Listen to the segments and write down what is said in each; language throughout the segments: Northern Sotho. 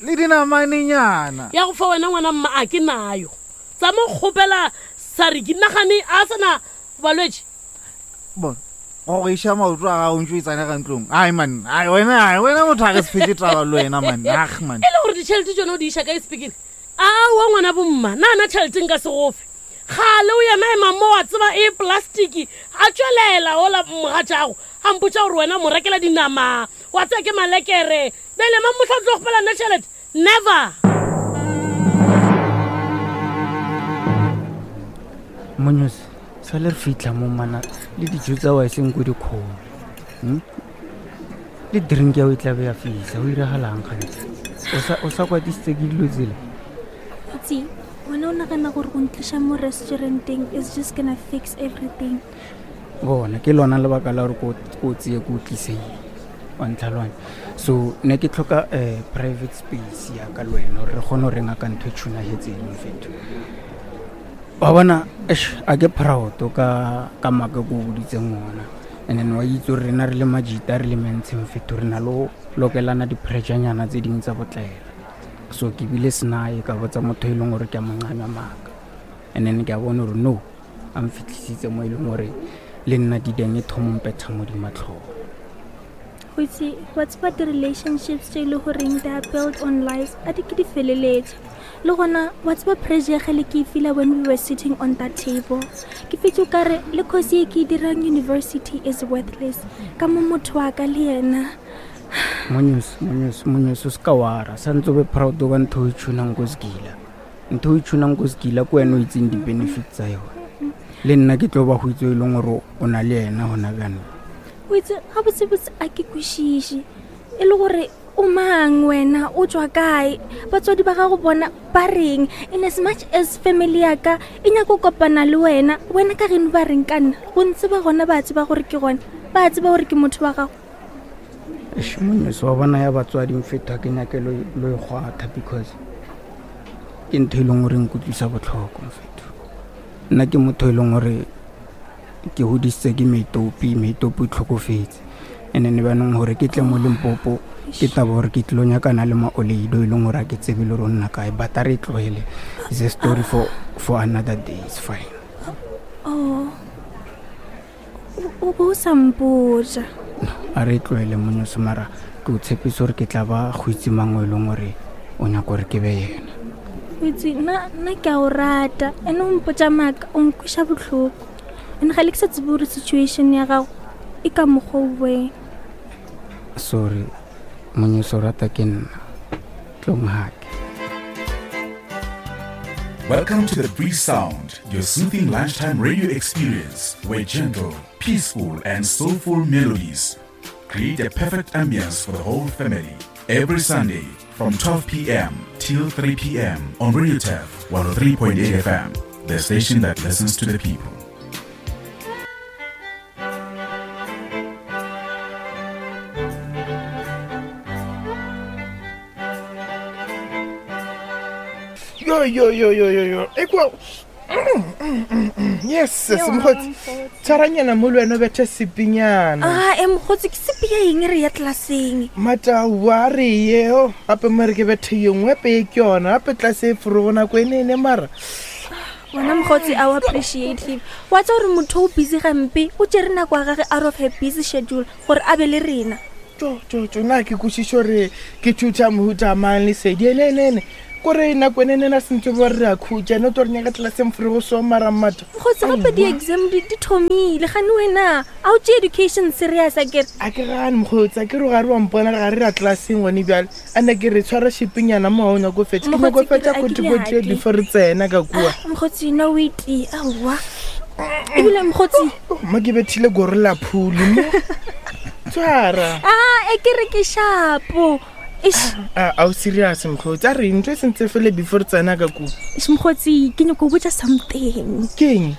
Le dinamanenyana. Ya go fa wena ngwana mma a ke nayo. Tsa mo kgopela sariki nagane a sana balwetši. Bona go go iša maoto a gago ntse o tsena ka ntlong. Ai man, ai wena, ai wena motho a re se fetse taba le wena man. Ag man. E le gore ditšhelete tsone o di iša kae sepikiri? Aowa ngwana bomma, na na tšhelete nka se gofe. Kgale o yena ema mo wa tseba e plastiki a tšwelela ola mogatšago a mpotša gore wena mo rekela dinama wa tseba ke malekere Bjale mang mohla o tlo kgopela nna tšhelete? Never! Monyose, sa le re fitlha mo mana le dijo tsa wa eseng ko dikgomo. Hmm? Le drink ya o e tlabe ya fitlha, o iragalang gantsi? O sa o sa kwatisitse ke dilo tsela? Itse, wena o nagana gore go ntliša mo restauranteng is just gonna fix everything. Bona, ke lona lebaka la gore ko ko tseye ko tliseng. Wa ntlhaloganya? So ne ke tlhoka um private space ya ka le wena gore re kgone go renga ka ntho e tshunagetseng mfetho. Wa bona eish a ke proud ka ka maaka ko boditseng ona. And then wa itse gore rena re le majita re le mentshe mfetho re na le go lokelana di-pressure-nyana tse dingwe tsa botlaela. So ke bile senae ka botsa motho e leng gore ke a mo nqanya maaka. And then ke a bona gore no a mfitlhisitse mo e leng gore le nna dideng e thomo mpetha mo dimatlhong. Go itse wa tseba di-relationships tše e le goreng they are built on lies a di ke di feleletše le gona wa tseba pressure ya gale ke e feela when we were sitting on that table ke fetse o kare le course ye ke e dirang university is worthless ka mo motho wa ka le yena Monyose, monyose, monyose o se ka wara santse o be proud ka ntho o e tshunang ko sekila. Ntho o e tshunang ko sekila ke wena o itseng di-benefit tsa yone. Le nna ke tlo ba go itse e leng gore o na le ena gona bjanong. O itse gabotsebotse a ke kwešiše e le gore o mang wena o tswa kae batswadi ba gago bona ba reng in as much as family ya ka e nyaka go kopana le wena wena ka geno ba reng ka nna go ntse ba gona ba tseba gore ke gona ba tseba gore ke motho wa gago Eish, monyose wa bona ya batswadi mfetho ke nyake lo lo e kgwatha because ke ntho e leng gore nkutlwisa botlhoko mfetho nna ke motho e leng gore ke godisitse ke meitopi meitopi o tlhokofetse and then banong gore ke tle mo limpopo ke taba gore ke tlilo nyakana le maoleido e leng gore a ke tsebe le gore o nna kae but a re e tlogele is a story for, for another day is fine oh o bo o sa mpotša a re e tlogele monyose mara ke o tshepise gore ke tla ba go itse mangwe e leng gore o nyaka gore ke be yena o itse nna nna ke a o rata ene o mpotša maaka o nkweša bohloko and ga le ke sa tsebe gore situation ya gago e ka mokgwa o boeng sorry monyeso rata ke nna tlong hake Welcome to the Breeze Sound, your soothing lunchtime radio experience where gentle, peaceful, and soulful melodies create a perfect ambience for the whole family. Every Sunday from 12 p.m. till 3 p.m. on Radio Tef 103.8 FM, the station that listens to the people. Yo yo yo yo yo yo. Ekwa yes sis mokgotsi tshwaranyana mo le wena o bethe sepinyana a e mokgotsi ke sepi ya eng re ya tlelaseng mataua a re yeo gape mo re ke bethe ye nngwe gape ye ke yona gape tlase e forogo nako e ne ene mara wena mokgotsi a o appreciate him wa tsa gore motho o busy gampe o tšere nako ya gage out of her busy schedule gore a be le rena tso tso tso na ke kwešišo gore ke thutha mohuta mang lesedi ene ene ene kore nako ene ene na sentse bo re a khutša ne to re nyaka tlelaseng fore go so mara mmata mokgotsi gape di-exam di di thomile gane wena a o tšee education serious a kere a ke gane mokgotsi a ke re ga re wa mpona re ga re ra tlelaseng gone bjale a ne ke re tshwara shipinyana mo ga o nyako fetša ke nyako Mokgotsi, ke fetša re a ke kotikoti nyake. before re tsena ka kua Ah, mokgotsi no o itee aowa ebile mokgotsi Oh, mo ke bethile goro la phuli mo tshwara a e ke re ke shapo Eish, a a o serious mokgotsi a re ntho e sentse fele before re tsena ka kua eish, mokgotsi ke nyako go botša something ke eng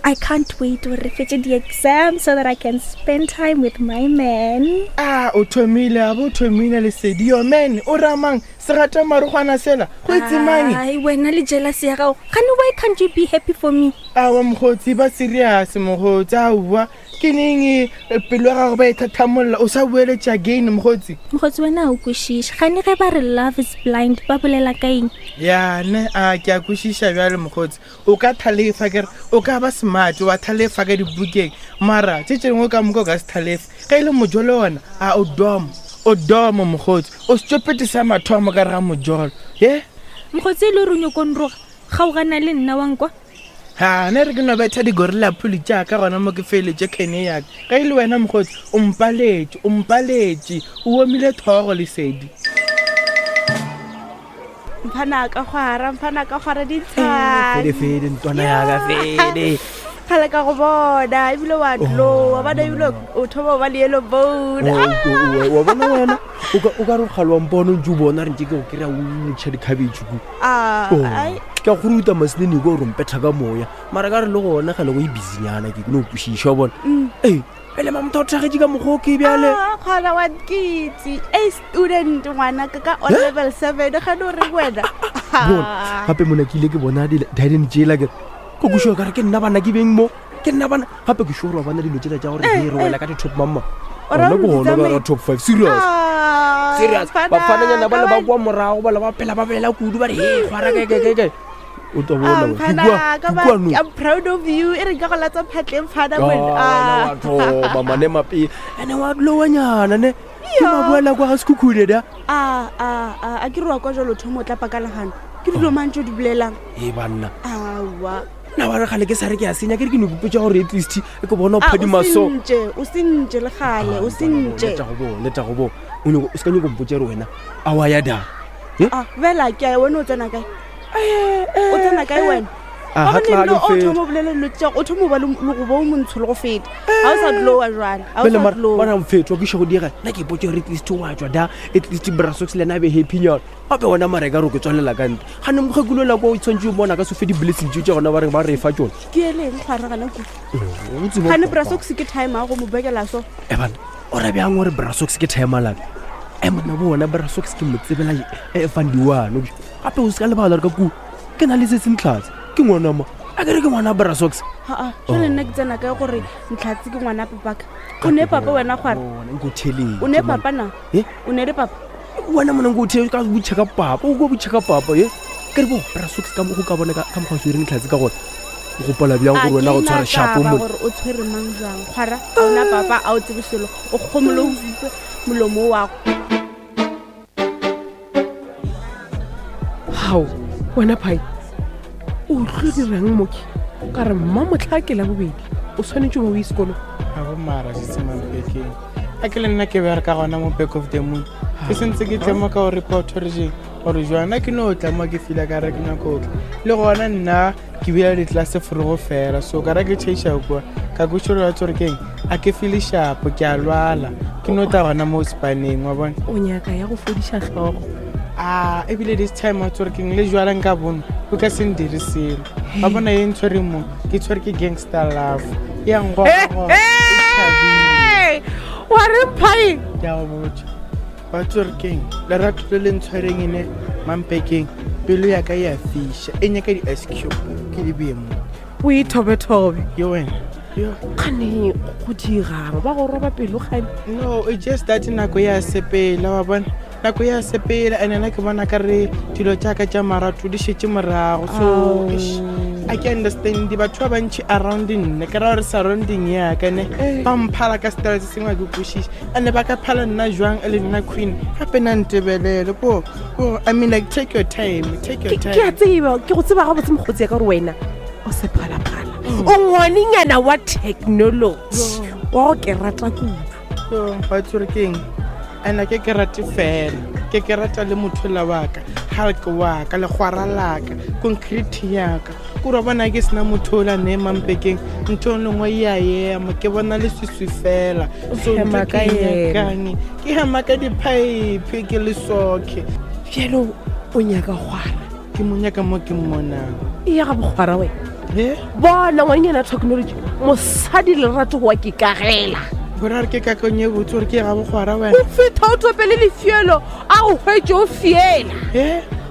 I can't wait gore re fetše di-exam so that I can spend time with my man. A o thomile, a bo o thomile lesedi. Yo man, o ramang segata marogwana sela, go itse mang? Ai, wena le jealous ya gago. Gane why can't you be happy for me? Awa mokgotsi, ba serious mokgotsi, aowa. Ke neng eh, pelo ya gago ba e thathamolla o sa boeletša again mokgotsi? Mokgotsi wena a o kwešiše. Gane ge ba re love is blind, ba bolela ka eng? Ya ne, a ke a kwešiša bjale mokgotsi. O ka thalefa kere, o ka ba smart wa thalefa ka dibukeng, mara tše tše dingwe ka moka o ka se thalefe. Ge e le mojolo wona, a o domo, o domo mokgotsi. O stupid sa mathomo ka re ga mojolo. Ye? Mokgotsi e le gore o nyoko nroga, kgaogana le nna wa nkwa. Ha, ne re ke no betha di-gorilla phuli tša ka gona mo ke feletše khene ya ka. Ge e le wena mokgotsi, o mpaletše, o mpaletše, o omile thogo lesedi. Mphana ka kgwara, mphana ka kgwara dintshwane. Fede fede ntwana ya ka fede. Kgale ka go bona ebile wa tloa bona ebile o thoma o ba le yellow bone. Wa bona wena o ka o ka re kgale wa mpona o ntse o bona re ntse ke go kry-a o ntšha dikhabetšhe ku. Ah, Oh, ai. Ke a go ruta masenene ko gore mpetha ka moya mara ka re le gona gale go e busynyana ke no kwešiša wa bona. Ee pele mamotho o thagetše ka mokgwa o ke bjale. Ah, kgona wa nkitse a student ngwana ka ka on level 7 ga no re wena. Bona gape mona ke ile ke bona di-diden tšela ke ko kušo ka re ke nna bana ke beng mo ke nna bana gape ke sure wa bona dilo tšela tša gore he re wela ka di-top mamma O ra gona gore ke di gona ka tsamaye? ra top five serious Ah, serious mfana, bafananyana ba le ba ka kwa morago ba le ba phela ba belela kudu ba re he kgwara kae kae kae kae o tla Ah, bona wena. Ke mfana, kua- ka ke ba- kua no. I'm proud of you. E re nka go latsa phatleng mfana Ah, wena. wena Ah. wa thoma mane mape ene wa lowanyana ne ke maboela kwa ga sekhukhune da Ah, ah, ah, a ke re wa kwa jalo thomo o tla paka legano. Ke dilo mang tse o di bolelang? e banna Aowa. nna wa re gale ke sa re ke a senya ke re ke no kupetsa gore at least e ke bona o Ah, o phadima so sentše, o sentše le gale, o sentše. leta go bo o nyako- o se ka nyako mpotsa re wena a wa ya da Ah, bela ke a ya, wena o tsena kae? O tsena kae wena? Ah, Wa ha bona tla ebile ke o feta. thoma o bolela dilo tša o thoma o ba le le go ba o montsho le go feta. Ga o sa glowa jwale. Ga o Bjale sa mara glowa. mara mfetho ke šego diega nna ke ipotsa gore at least wa tswa da at least brasox le ena a be happy nyana gape wena mara e ka re o ke tswalela ka ntle gane mokgekolo la kwa o tshwanetse o bona ka se fe di-blessing tseo tša gona ba reng ba re fa tsone Ke eleng kgwara gana kudu. O tseba Gane papa. brasox ke time ya go mo bekela so. e bana o ra bjang gore brasox ke timelaka e monna bo ona brasox ke mo tsebela e fandiwane gape o se ka lebala gore ka kua ke na le se sentlhatse ke ngwanama a kere ke ngwana brasox Aa, jwale nna ke tsena kae gore ntlhatse ke ngwana papaka. O ne papa wena kgwara. nko theletše O ne papa na? Eh? O ne le papa? wena mona nko the ka botšha ka papa o ko botšha ka papa ye ke re bo brasox ka mo go ka bona ka ka mokgwa o swereng tlhatse ka gona o gopola bjang A gore wena go ke tshwara na shapo taba mo gore o tshwere mang jwang kgwara ga ona papa a o tsebe selo o kgomole o fupe molomo wa go gao wena phai o tlo dirang moke ka re mma motlha ke la bobedi o tshwanetse o ba o ye sekolong Ga bo mara se se mampekeng. A ke le nna ke bereka gona mo back of the moon. Ke sentse ke tle mo ka o report gore jeng gore jwana ke no tla mo ke fila ka re ke nyako tla. Le gona nna ke bile ditlase forogo fela so ka re ke tšheiša kua ka kweša gore wa tsore keng a ke feel shapo ke a lwala ke no tla gona mo spaneng wa bona. O nyaka ya go fodiša hlogo. A ebile this time wa tsore keng le jwala nka bono o ka se ndire selo. Wa bona ye ntshwereng mo ke tshwere ke gangster love ya ngogo. Wa re phai Ke a go botša wa tsore keng lerato le le ntshwereng ene mampekeng pelo ya ka e a fiša e nyaka di-ice cube ke di bee mo o ithobethobe yo wena yo kgane go dirang ba go roba pelo gane no it just that nako ya sepela wa bona nako ya sepela and nna ke bona ka re dilo tša ka tša marato di šetše morago so eish, a ke understand batho ba bantši around nna ke ra gore surrounding ya ka ne ba mphala ka style se sengwe a ke kwešiše and ba ka phala nna jwang e le nna queen gape na ntebelele ko ko i mean like take your time take your ke a time tseba ke go tseba gabotse mokgotsi ya ka gore wena o sephalaphala o ngwanenyana wa technology wa go ke rata kudu Yo, wa tsore keng and ke ke rate fela ke ke rata le motho la wa ka hulk wa ka legwara la ka concrete ya ka kore wa bona ke sena motho ola ne mampekeng ntho e lengwe e a ema ke bona leswiswi fela so ntho hema ke ka e yena. nyakang ke hema ka di-pipe ke le soke bjalo o nyaka kgwara ke mo nyaka mo ke mmonang e ya ga bokgwara wena Bona ngwanyana technology mosadi lerato wa ke kagela. Gore re ke kakong ye botse gore ke ga bogwara wena. O fetha o topele lefielo a go hwetše o fiela.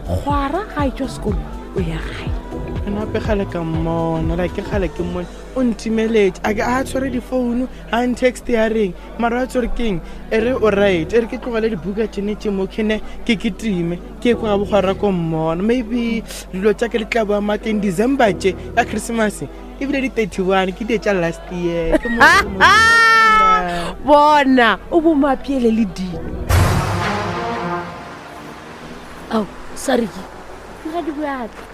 Kgwara ga e tšwa sekolo o ya gae. Ena gape kgale ka mmona, like ke kgale ke mmone o ntimeletše a ke a tshwere difounu a ntext ya reng mara wa tsore keng e re o right e re ke tlogele dibuka tšene tše mo kene ke ketime ke kwa ga bogwara ko mmona maybe dilo tša ke di tla boa mateng december tše ya christmas ebile di 31 ke die tša last year ke mo bona o bo mapiele le dino ao sariki moradi boaka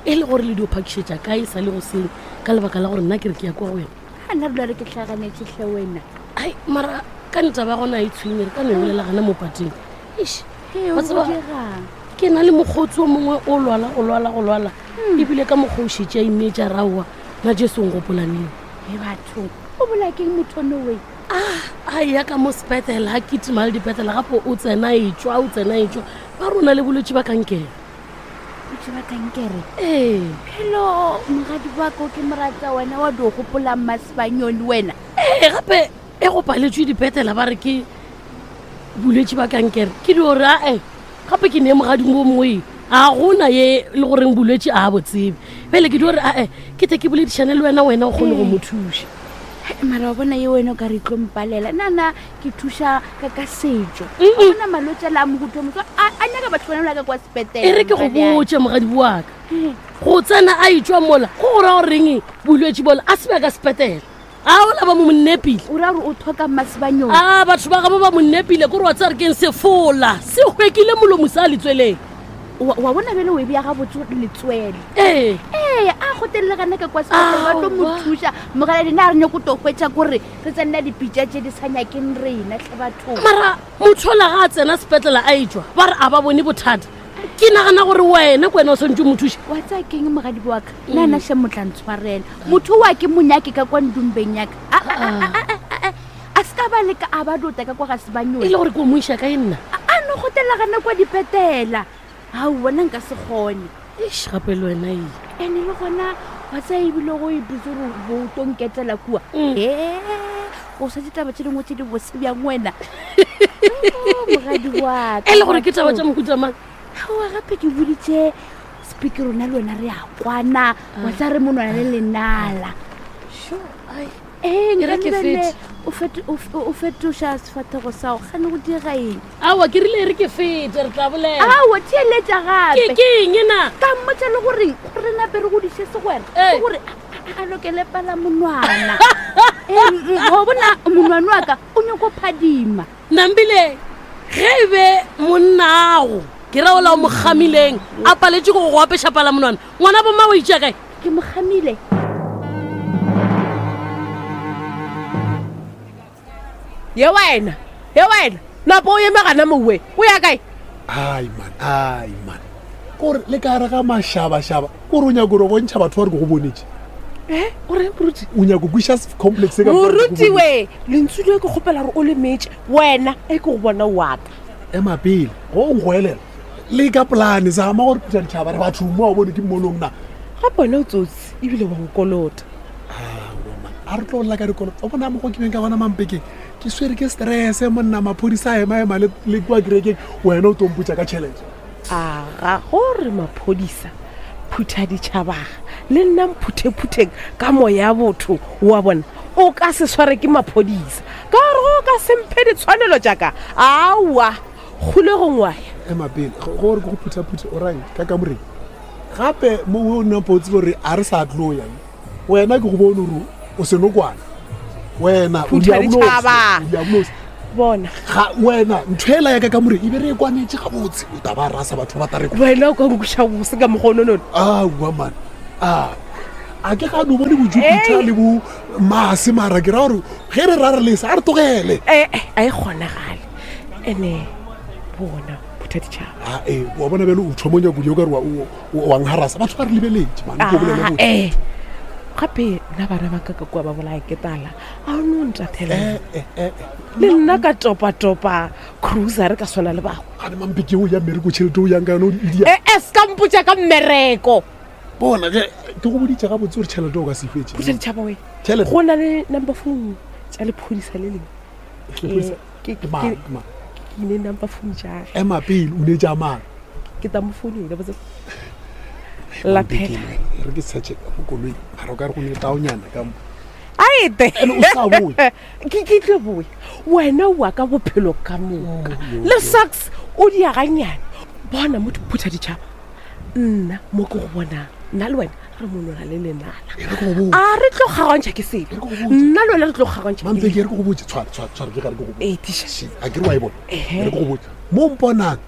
e le gore le dio phakišetša kae sa le go seng ka lebaka la gore nna ke re ke ya kwa go wena ga nna dula re ke tlhaganetse tlhe wena ai mara ka ntaba gona e tshwenye re ka no e bolela gana mo pateng eish wa tseba, ke na le mokgotsi o mongwe o lwala go lwala go lwala ebile ka mokgwa o šetše a imeetša raowa na jesu o ngopolaneng e batho o bola keng motho nowe a ya ka mo sepetlela a kitima le dipetlela gape o tsena e tswa o tsena e tswa ba rona le bolwetse ba kankere bolwetse ba kankere ee phelo moradi wa ko ke moratsa wena wa di gopolang masebanyone wena ee gape e go paletswe dipetlela ba re ke bolwetse ba kankere ke di gore ae gape ke ne mogadimo o mongwe a gona ye le goreng bolwetse a bo tsebe bjale ke di gore ae ke tle ke boledišane le wena wena o kgone go mo thuša mara wa bona ye wena o ka re tlo mpalela nna ke thuša ka ka setšo bona malwetse a le a mohuto motho a nyaka batho bana la ka kwa sepetele e re ke go botse mogadi waka go tsena a itswa mola go go ra goreng bolwetse bola a se ba ka sepetele a ola ba mo monnepile o ra gore o tlhoka masebanyong a batho ba gabo ba monnepile kore wa tsare keng sefola se hwekile molomo sa letsweleng wa bona bjale o e beya gabotse letswele ee ee a gotelele gana ka kwa sepetlele ba tlo mo thuša mogala dina a re nyako to hwetša kore re tsenna dipitša tše di sa nyakeng rena tlhe bathong mara motho ola ga a tsena sepetlela a etswa ba re a ba bone bothata ke nagana gore wena ke wena o tshwanetse o mo thuše wa tsaya keng mogadi wa ka nna na še motla ntshwarela motho wa ke monyake ka kwa ndumbeng yaka a se ka ba leka a ba dota ka kwa ga sebanyone e le gore ke o mo iša kae nna a no gotela gana kwa dipetela ao bona nka se kgone eish gape le wena e ene le gona wa tsaya ebile go ipitse gore bo o tlo nketela kua ee o sa ditaba tse dingwe tse di bose bjang wena moradi waka e le gore ke taba tša mohuta mang aowa gape ke boditše speaker rona le wena re a kwana wa tsa re monwana le lenala ee E re ke nka fete. o fetoša sefathego sao gane go dira eng aowa ke rile e re ke fete re tla bolela aowa theeletša gape ke eng na ka mmotsa le goreng gore nape re godiše segwera ke gore a lokele pala monwana wa bona monwana wa ka o nyako phadima nambile ge e be monnago ke ra ola o mo gamileng a paletse go go apeša pala monwana ngwana bomma o itšea kae ke mo gamile ye wena ye wena napo o eme gana mowe o ya kae ai man ai man kore le ka re ga mašabašaba kore o nyako gore bontšha batho ba re ke go bonetse e o reng moruti o nyako kwiša complex e ka moruti we lentsu le ke kgopela gore o le metse wena e ke go bona waka ema pele go o nkgoelela le ka polane zama gore phutha ditšhaba re batho mo a bone ke mmonong na gape wena o tsotsi ebile wa nkolota a re tlo lla ka dikolo o bona mokgwa ke beng ka gona mampekeng ke swere ke stress monna maphodisa a ema ema le kua kerekeng wena o tompotsa ka tšhelete aga gore maphodisa phutha ditšhabaga le nna mphuthe-phutheng ka moya botho wa bona o ka se sware ke maphodisa ka gore go ka semphe ditshwanelo jaaka aowa kgolegong wa ya ema pele gore ke go phutha-phuthe o rang ka kamoreng gape mo o nna potse gore a re sa tlo yang wena ke go bone gore o senokwana wena o diabolosi bona ga wena ntho ela ya ka kamore e be re e kwanetse gabotse o taba rasa batho ba tareko wena o ka nkuša bose ka mokgononono aowa man a a ke ga no bone bojupiter le bo mase mara ke ra gore ge re ra re lesa a re tlogele ee a e kgonagale ene bona phutha ditšhaba ee wa bona bjale o thoma nyako o ka re wa ngharasa batho ba re lebeletse man ko bolele botse ee gape nna bana ba ka ka kua ba bolaya ke tala a o no ntathela le nna ka topa-topa cruiser ka swana le bangwe gane mampeke o ya mmereko tšhelete o yang ka yone o di ee se ka mpotsa ka mmereko. Bona ge ke go boditše gabotse gore tšhelete o ka se fetše. Phutha ditšhaba we. Tšhelete. Go na le number phone tša lephodisa le lengwe. Lephodisa? Ke Ke mang, ke mang? ke ne number phone tša gage. Ema pele o ne tša mang? Ke tla mo founela botse. Laphela. Re ke search ka mo koloi. Mara o ka re go ne taonyana ka mo. Aete. Ene o sa boe. Ke ke tlo boe. Wena wa ka bophelo ka moka. Le socks o di ya ganyane. Bona motho phutha ditšhaba. Nna mo ke go bonang. Nna le wena re monona le lenala. A re tlo kgaogantšha ke selo. Nna le wena re tlo kgaogantšha. Mampeke re ke go botse tshwara tshwara tshwara ke ga re ke go botse. Ee tiša. A ke re wa e bona. Re ke go botse. Mo mponang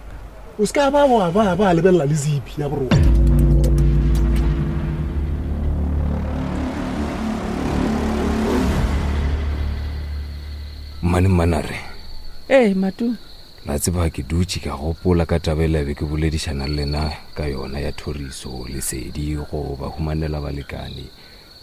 o se ka ba wa ba ba lebelela le zipi ya boroko. Mmane mmane a re Ee Matu. la tseba ke dutše ka gopola ka taba ela be ke boledišana le lena ka yona ya thoriso lesedi go ba humanela balekane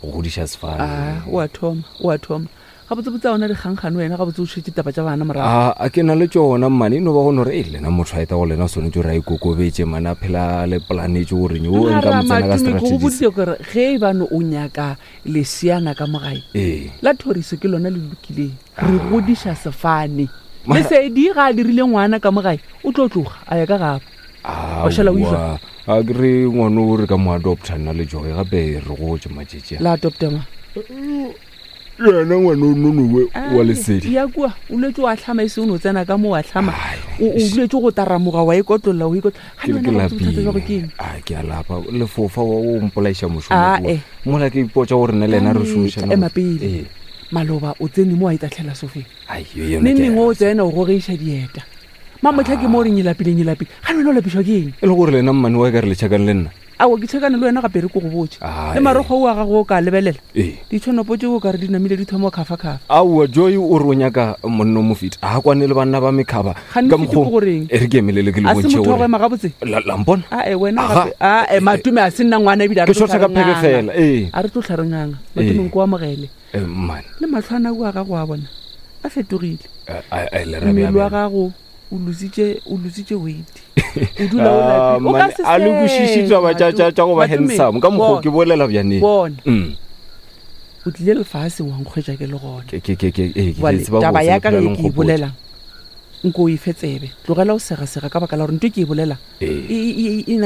go godiša sefane a o a thoma o a thoma gabotsebotse a ona dikgangkgane wena gabotse o šetse taba tša bana morago a a ke na le tšona mmane e no ba go no re e lena motho a eta go lena o swanetše gore a ikokobetše mane a phela a le planetše gore o nka mo tsena ka Mara, Matome, ke go strategies boditse gore ge e bane o nyaka leseana ka mogae ee la thoriso ke lona le lokileng re godiša sefane Mara- lesedi ga a dirile ngwana ka mogae o tlo tloga a ya ka gabo Wa šala o išwa? Aowa, a ke re ngwana o re ka mo adopta nna le joge gape re gotse matšatši a la adopta ma yena ngwana o nonowe wa lesedi ya kua o letse wa tlhama e seng o no tsena ka mo wa tlhama o o duletse go taramoga wa ikotlolla o ikotlolla ke ga ke le wena bothata jwa go ke lapile eng a ke a lapa lefofa wa o mpolaiša mošomo Ah, kua. eh. mola ke ipotša gore nna le ena re šomišana ema pele Ee. maloba o tsene mo wa itatlhela sofeng Ai, yo yona neng ke a neng o tsena o gogeisa dieta mamotlha ke mo o reng nyelapile nyelapile ga le wena o lapišwa ke eng e le gore lena mmane wa ka re le tšhakang le nna ao ke tšhekane le wena gape re ko go botse Ah, le marokgo o a gago o ka lebelela ee ditšhonopo tse o ka re di namile di thoma kgafa-kgafa aowa joy o re o nyaka monna o mofeti a kwane le banna ba mekhaba Gane ka mofeti ke goreng? e re ke emelele ke le a se bontšhe motho wa go gore ema gabotse La- la mpona ae wena Aga. gape ae matome a se nna ngwana ebile a re Ke tlo shotha ka tla re pheke nganga. fela, ee. a re tlo tlha re nganga matome Ee. nko amogele Eh, mmane le matlhwana a kua gago a bona a fetogile Eh, a- a- le ra mmele wa bja- gago o lositše o lositše weight o dula o Ah, lapile. O ka mmane, se a le kwešiše sege, taba tša- tša tša go ba Matome, handsome ka mokgwa o bona. ke bolela bjaneng Bona. Mm. o tlile lefaseng wa nkgwetša ke le gona Ke- ke- ke- ke- ee, ke- ke Jwale, tseba taba botse ya ka lephelo ge le ke e nkgopotša. bolelang nko o e fe tsebe tlogela o segasega ka baka la gore nto e ke e bolelang Ee. e- e e- e